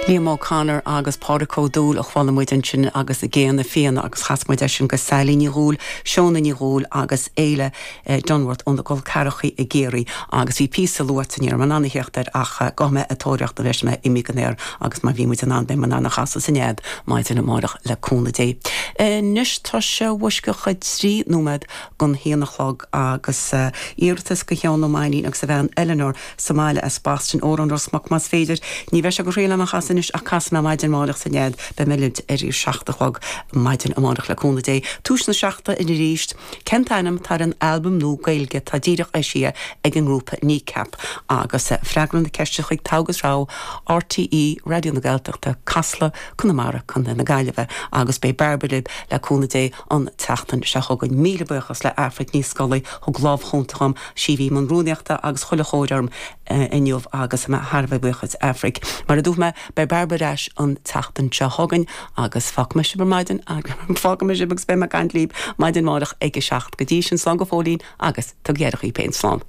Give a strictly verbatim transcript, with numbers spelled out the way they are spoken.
Liam O'Connor agus Pádraig Ó Dúill a chuala muid ansin agus Géanna Fiáine agus chas muid sin go Sally Ní Dhúill, Seona Ní Dhúill agus Éile eh, Dunworth ón gCol Carrachaí i gCiarraí agus bhí píosa luaite ní an anhéocht ar ach eh, go mé atóireachta leis mé imi go néir agus mar bhí muid an an an anna chasa san éad maidin amárach le cúnamh Dé. Anois tá sé uiscecha trí nóiméad gon haon a chlog agus uh, iarratas go Sheán Ó Mainnín agus a bhean Eleanor sa mbaile as Boston Órán Ros Muc más féidir, ní bheidh sé go réile a chas anois ach cas mé maidin amárach san nead be mé ar í seacht a chlog maidin amárach le cúnamh Dé. Tús na seachtaine arís, Cén t-ainm atá ar an albam nua Gaeilge tá díreach eisithe ag an ngrúpa Kneecap agus eh, freagra na ceiste chuig Togha is Rogha RTÉ Raidió na Gaeltachta Casla Conamara Contae na Gaillimhe agus beidh Bairbre le cúnamh Dé an tseachtain seo chugainn míle buíochas le Aifric Ní Scolaí thug lámh chúnta dom sí bhí an rúnaíochta agus chuile chóirarm inniu agus me Harbh buíochas Aifric. Mar a dúirt mé beidh Bairbre ar ais an tseachtain seo chugainn agus fágfaidh mé sibh ar maidin fágfaidh mé sibh agus beidh mé ag caint libh maidin amárach ag a seacht go dtí sin slán go fóillín agus tugaigí aire daoibh féin slán.